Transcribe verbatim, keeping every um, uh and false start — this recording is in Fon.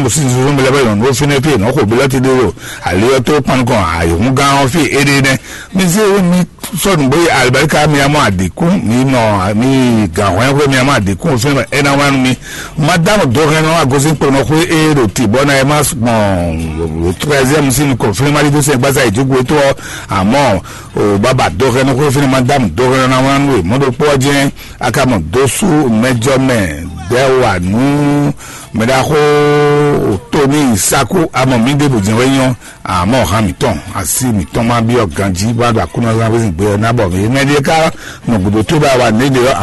Sísúsú mi lɛ́ bɛ nyɔ̌nu fínɛ́ fí nɔ́ xo bilɔ́ti ɖé ɖo ali ɔ́ tó kpan nukɔn ayǐhúngán ɔ́ fí éɖée nɛ́. Mi zé mi sɔ́ nǔgbó yi alibarika mi amɔ adǐkún mi nɔ mi gǎn hwɛ́nhwɛ́ mi amɔ adǐkún fínɛ́ é ná wá nú mi. Madame Dohɛnnɔ agosín kponɔ xwé é ɖo tǐ bɔ ná é má gbɔn treizième sín nukɔn fínɛ́ má ɖi dó sɛn gbásá ìjókòó tó ɔ́. Àmọ́ o baba Dohɛnnɔ xwé fínɛ́ Madame Dohɛnnɔ ná wá nú e mɔ̌ ɖokpó ɔ́ jɛ́n akamɔ dó sú mɛjɔ mɛ dɛ́ wa nú mɛ ɖaxó Tony Saku amɔ mi ɖěbǔ jɛ́n wɛ nyɔ́. Àmọ́ hàn mǐtɔn asi mǐtɔn má byɔ́ ganjí bá ɖo Aklúnɔzán wezín gbé ɔ́ ná bɔ mǐ mɛ ɖíe ká nɔ gǔdo tó bá wa nǔ ɖe ɔ́